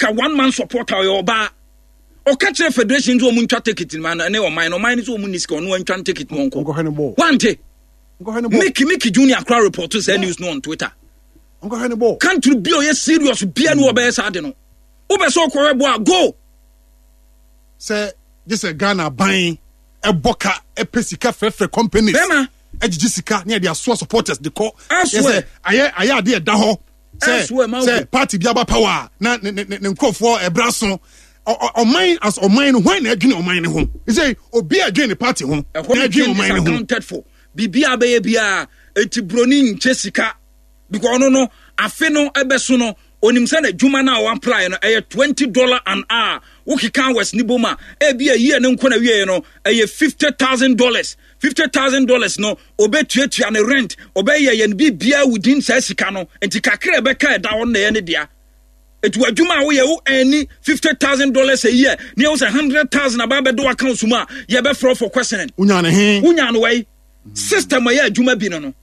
America one man supporter ɔyɛ ɔbaa. Ɔka kyerɛ federation nso wɔn ntwa ticket ma no ɛne ɔman no ɔman no nso wɔn ni sika ɔno ntwa ticket no ɔnkɔ. Wante. Mickey Mickey Junior kora report sɛ news no on Twitter. Country bi a ɔyɛ serious bia ne ɔbɛyɛ saa de no. Wobɛ sɛ ɔkɔhwɛ bɔ a go. Sɛ gye sɛ Ghana ban ɛbɔ ka ɛpɛ sika frɛfrɛ companies. Bɛma. Ɛgyegye sika ne yɛde asoa supporters de kɔ. Ɛsɛ ayɛ ayɛ adeɛ ɛda hɔ. Sɛ sɛ party bi aba power a na ne ne ne nkurɔfoɔ ɛbra so ɔman as ɔman no hwan na ɛdwene ɔman no ho sɛ obi a ɛdwene ne party ho na ɛdwene ɔman no ho. Accounted for biribi a bɛyɛ biara eti broni nkyɛ sika because ɔno no afe no ɛbɛso no onim sɛ n'adwuma no a wɔapply no ɛyɛ $20 an hour wokeka hours ne bom a ebi a yie ne nko na wieɛ no ɛyɛ $50,000. $50,000 no obetuatua ne rent ɔbɛyɛ yɛn biribiara within saa sika no nti kakra ɛbɛka ɛda hɔ no na ɛyɛ ne dea. Eti w'adwuma a woyɛ wo ɛni $50,000 a year ne ɛwo sɛ 100,000 aba abɛdo account mu a yɛbɛfrɛ for questioning. Wonya ne he? Wonya no wai? System a ɛyɛ adwuma bi no no.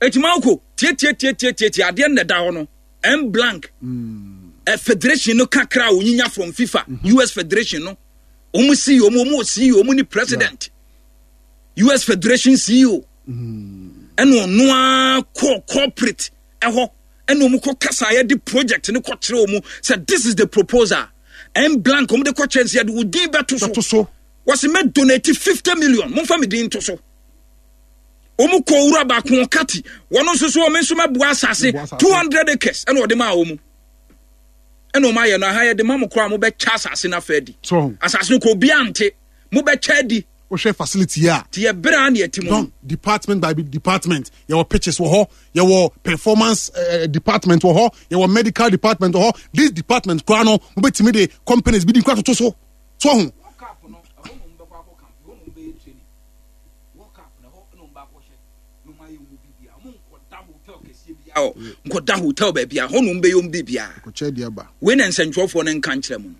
Eti Malco tietietietietie adeɛ no na ɛda hɔ no M blank. Mm. Federation no kakra a onyinya from FIFA, mm -hmm. US Federation no. Wɔn CEO, wɔn wɔ CEO, wɔn ni president. Yeah. US Federation CEO. Mm. Ɛna ɔno ara kɔ corporate ɛhɔ ɛna wɔn kɔ kasa yɛde project no kɔ kyerɛ wɔn sɛ this is the proposal. M blank wɔn de kɔ kyerɛ sɛ yɛde wo din bɛto so. so. Wɔsi mɛ donate 50 million mo nfa mi din to so. Wɔn kɔ owura baako ɔkati wɔn nso so wɔn nso mɛboa asase 200 acres ɛna ɔde maa wɔn ɛna wɔn ayɛ no aha yɛde ma mo koraa mo bɛkyɛ asase no afa adi asase no kɔ obiara nte mo bɛkyɛ adi. Wohwɛ facility a. Ti yɛ bere a na yɛte mu. Don department by department yɛwɔ pitches wɔ hɔ yɛwɔ performance uh, department wɔ hɔ yɛwɔ medical department wɔ hɔ this department koraa no mo bɛtumi de companies bi di nkura toto so so ho. Nkɔda hotel baabi a hɔ nom bɛyɛ ɔm biribiara. Wei na nsɛntwerɛfoɔ no nka nkyerɛ mu no.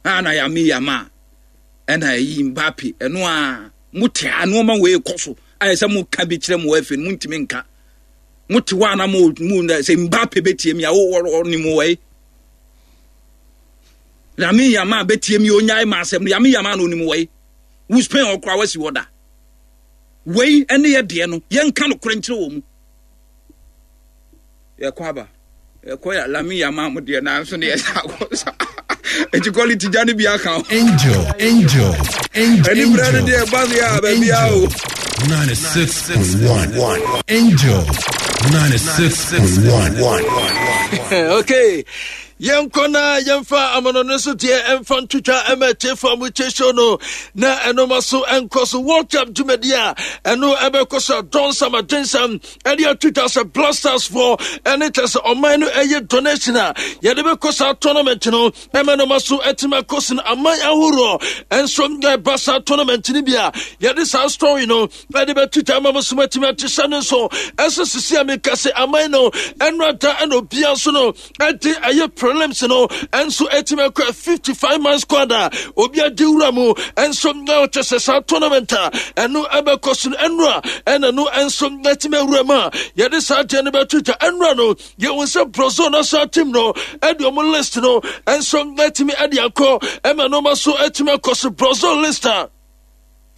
Ana yame yama ɛna ɛyi Mbappe ɛno a mote a nneɛma wei kɔ so ayɛ sɛ moka bi kyerɛ mo afei no montumi nka. Mote hɔ a na mo mo sɛ Mbappe bɛtie mi a ɔnim wɔ yi. Yame yama bɛtie mi onyae ma asɛm no yame yama na onim wɔ yi. Wo Spain ɔkora wasi hɔ da. Wei ɛne yɛ deɛ no yɛnka nokorɛ nkyerɛ wɔ mu. Yɛkɔ aba yɛkɔ yɛ lami yɛ ama mo deɛ nanso ne yɛsa akɔ sa eti quality gya no bi aka ho. Angel, angel, angel. Ɛni brɛ no deɛ ɛba deɛ a baabi a o. 96.1 Angel 96.1. Okay. Yɛnkɔ na yɛmfa amanɔne so deɛ ɛmfa ntwitwa ɛma atiefoɔ a motie show no na ɛnoma so ɛnkɔ so World Cup dwumadi a ɛno ɛbɛkɔ so a dɔnsam adwensam ɛde atwitwa sɛ Blasters foɔ ɛne kyɛ sɛ ɔman no ɛyɛ donation a yɛde bɛkɔ saa tournament no ɛma ɛnoma so ɛtumi akɔ so no aman ahoroɔ ɛnso ɛba saa tournament no bi a yɛde saa story no ɛde bɛtwitwa ama mo so matumi ate hyɛ no nso ɛsɛ sisi a meka sɛ aman no ɛno ada ɛna obia nso no ɛde ɛyɛ prelims no ɛnso ɛtumi akɔ 55 man squad a obi adi wura mu ɛnso na ɔkyɛ sɛ saa tournament a ɛno ɛbɛkɔ so no ɛno a ɛna no ɛnso ɛtumi awura mu a yɛde saa deɛ no bɛtwitwa ɛnora no yɛhu sɛ Brazil national team no ɛde ɔmo list no ɛnso ɛtumi ɛde akɔ ɛma nneɛma so ɛtumi akɔ so Brazil list a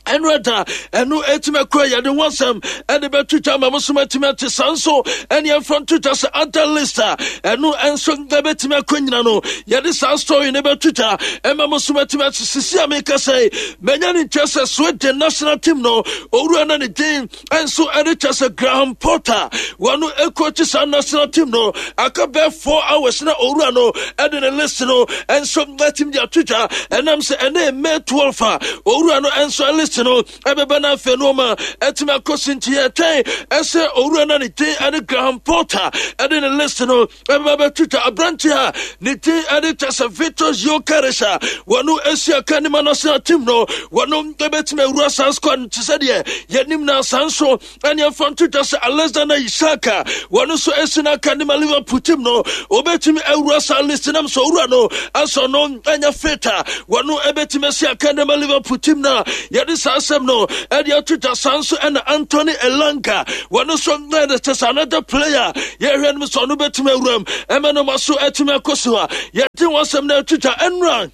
ɛno ɛda ɛno ɛtumi akura yɛde ho asɛm ɛde bɛto dwa ma mo so matumi ate saa nso ɛne ɛmfa nto dwa sɛ other list a ɛno ɛnso ɛbɛtumi akɔ nyina no yɛde saa story no bɛto dwa ɛma mo so matumi ate sisi a meka sɛ manya ne nkyɛ sɛ Sweden national team no owura na ne din nso ɛde kyɛ sɛ Graham Potter wɔn ɛkɔkyi saa national team no aka bɛɛ 4 hours na owura no ɛde ne list no nso ɛtumi de ato dwa ɛnam sɛ ɛne May 12 a owura no nso list no ɛbɛbɛ no afei no ma ɛtumi akɔ so nti yɛtwɛn ɛsɛ owura no ne din ɛne Graham Potter ɛde ne list no ɛbɛba bɛto dwa. Aberante a ne din ɛde kyɛ sɛ Victor Gyokeres a wɔno asi aka ne ma national team no wɔno ɛbɛtumi awura saa squad no te sɛ deɛ yɛnim no saa nso ɛne ɛmfa nto dwa sɛ Alexander Isak a wɔno nso asi no aka ne ma Liverpool team no wɔbɛtumi awura saa list nam sɛ owura no asɔ no ɛnyɛ fit a wɔno ɛbɛtumi asi aka ne ma Liverpool team no a yɛde saa saa asɛm no ɛde ato dwa. Saa nso ɛna Anthony Elanga, wɔno nso na ɛde kyɛ sɛ another player yɛhwɛ no sɛ ɔno bɛtumi awuram ɛma no ma so atumi akɔ so a yɛde wɔn asɛm no ato dwa ɛnora.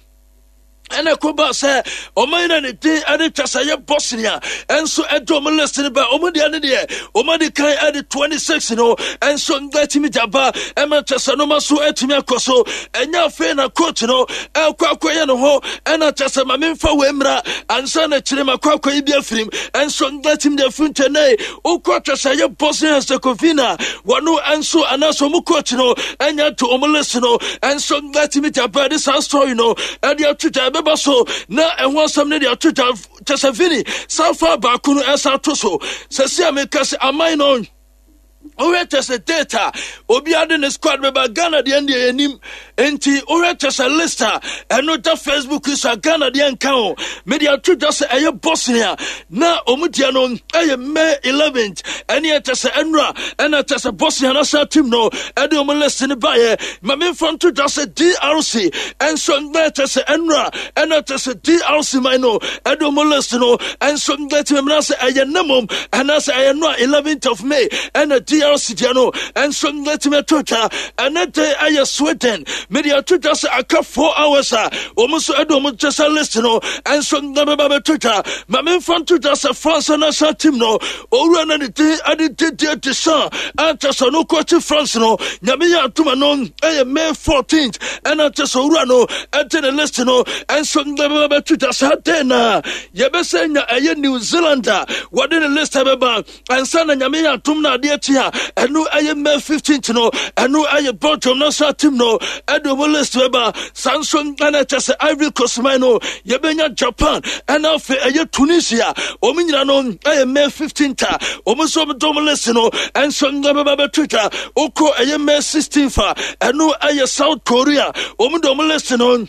Ɛna ɛkɔ baa sɛ ɔman na ne din ɛde twa sɛ ɛyɛ Bosnia ɛnso ɛde ɔmo list no ba. Ɔmo deɛ ne deɛ ɔmo adi kan ɛde 26 no ɛnso ɛtumi gya ba ɛma kyɛ sɛ noma so ɛtumi akɔ so. Ɛnyɛ afei na coach no ɛkɔ akɔyɛ ne ho ɛna kyɛ sɛ ma memfa wei mmra ansa na kyerɛ ma kɔ akɔyi bi afirim ɛnso ɛtumi de afiri ntɛnɛ wokɔ kyɛ sɛ ɛyɛ Bosnia Herzegovina wɔno ɛnso anaasɛ ɔmo coach no ɛnya to ɔmo list no ɛnso ɛtumi gya ba. Ɛde saa story no ɛde ato dwa, ɛbɛba so na ɛho asɛm no de ato dwa kyɛ sɛ Vini san fa baako no ɛsan to so sɛ si a meka sɛ aman no wohwɛ kyɛ sɛ date a obiara de ne squad bɛba. Ghana deɛ deɛ yɛnim nti wohwɛ kyɛ sɛ list a ɛno da Facebook so a Ghana deɛ nka ho. Mede ato dwa sɛ ɛyɛ Bosnia na ɔmu deɛ no ɛyɛ May 11th, ɛne ɛkyɛ sɛ ɛnora ɛna kyɛ sɛ Bosnia national team no ɛde ɔmo list no baeɛ. Ma memfa nto dwa sɛ DRC ɛnso na ɛkyɛ sɛ ɛnora ɛna kyɛ sɛ DRC man no ɛde ɔmo list no ɛnso ɛtumi mena sɛ ɛyɛ ne mom ɛna sɛ ɛyɛ no a 11th of May ɛna DRC deɛ no ɛnso ɛtumi ato dwa. Ɛne de ɛyɛ Sweden, mede ato dwa sɛ aka 4 hours a wɔn nso ɛde wɔn kyɛ sɛ list no ɛnso ɛbɛba bɛto dwa. Ma memfa nto dwa sɛ France national team no owura no ne din ɛde Didier Deschamps ankyɛ sɛ ɔno kɔkye France no, Nyame yɛ adoma no ɛyɛ May 14th ɛna kyɛ sɛ owura no ɛde ne list no ɛnso ɛbɛba bɛto dwa. Saa den na yɛbɛsɛ nya ɛyɛ New Zealand a wɔde ne list ɛbɛba ansa na Nyame yɛ adom no adeɛ kye a ɛno ɛyɛ May 15th no, ɛno ɛyɛ Belgium national team no ɛde ɔmo list bɛba. Saa nso ɛna ɛkyɛ sɛ Ivory Coast man no yɛbɛnya Japan ɛna afei ɛyɛ Tunisia, wɔn nyina no ɛyɛ May 15th a wɔn nso wɔn dɔm list no ɛnso ɛbɛba bɛto dwa. Wokɔ ɛyɛ May 16th a ɛno ɛyɛ South Korea, wɔn dɔm list no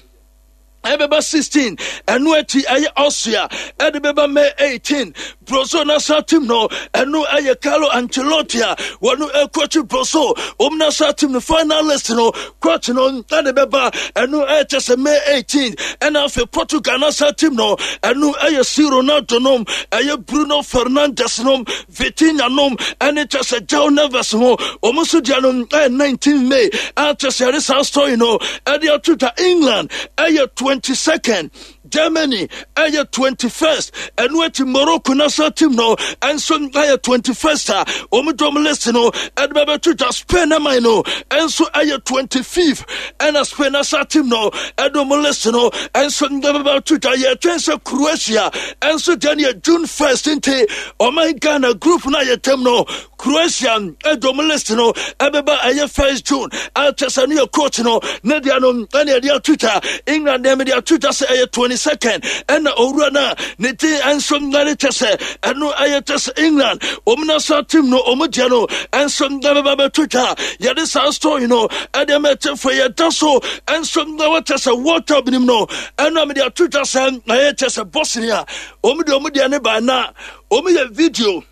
ɛbɛba 16. Ɛno akyi ɛyɛ Austria ɛde bɛba May 18. Brazil national team no ɛno ɛyɛ Carlo Ancelotti a wɔno ɛkɔkyi Brazil wɔn national team no final list no coach no ɛde bɛba, ɛno ɛkyɛ sɛ May 18. Ɛna afei Portugal national team no ɛno ɛyɛ C Ronaldo nom, ɛyɛ Bruno Fernandes nom, Vitinha nom ɛne kyɛ sɛ João Neves ho, wɔn nso deɛ no ɛyɛ 19 May a kyɛ sɛ yɛde saa story no ɛde ato dwa. England ɛyɛ 22nd, Germany ɛyɛ 21st, ɛno akyi Morocco national team no ɛnso ɛyɛ 21st a wɔn dɔm list no ɛde bɛbɛto dwa. Spain aman no ɛnso ɛyɛ 25th ɛna Spain national team no ɛde wɔn list no ɛnso ɛbɛbɛto dwa. Yɛtwɛn sɛ Croatia ɛnso deɛ no yɛ June 1st nti ɔman Ghana group no a yɛtɛm no Croatia ɛdɔm list no ɛbɛba ɛyɛ 1st June akyɛ sɛ no yɛ coach no ne deɛ no ɛne ɛde ato dwa. England deɛ mede ato dwa sɛ ɛyɛ 22nd ɛna owura no a ne din ɛnso ɛne kyɛ sɛ ɛno ɛyɛ kyɛ sɛ England wɔn national team no wɔn deɛ no ɛnso ɛbɛba bɛto dwa. Yɛde saa story no ɛde ama ɛkyɛfo yɛda so ɛnso ɛwɔ kyɛ sɛ World Cup nim no ɛno a mede ato dwa sɛ ɛyɛ kyɛ sɛ Bosnia wɔn deɛ wɔn deɛ ne ba na wɔn yɛ video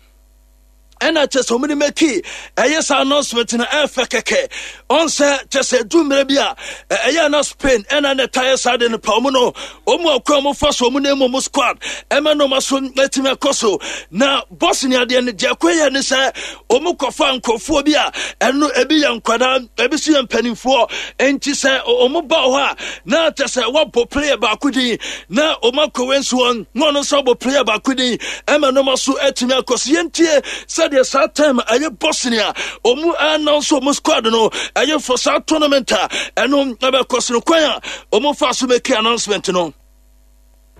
ɛna kyɛ sɛ ɔmo de mɛki ɛyɛ saa announcement no ɛfɛ kɛkɛ. Ɔn sɛ kyɛ sɛ du mmerɛ bi a ɛyɛ na Spain ɛna na ɛta yɛ saa de no pa ɔmo no ɔmo akɔ ɔmo fa so ɔmo na emu ɔmo squad ɛma nneɛma so ɛtumi akɔ so. Na Bosnia deɛ no deɛ ɛkɔ yɛ ne sɛ ɔmo kɔfa nkurɔfoɔ bi a ɛno ebi yɛ nkwadaa, ebi so yɛ mpanimfoɔ, nti sɛ ɔmo ba hɔ a na kyɛ sɛ wɔabɔ player baako din na ɔmo akɔ wei nso wɔn na ɔno nso abɔ player baako din ɛma nneɛma so atumi akɔ so. Yɛntie sɛdeɛ saa time ɛyɛ Bosnia ɔmo announce ɔmo squad no ɛyɛ for saa tournament a ɛno ɛbɛkɔ so no, kwan a ɔmo fa so make announcement no.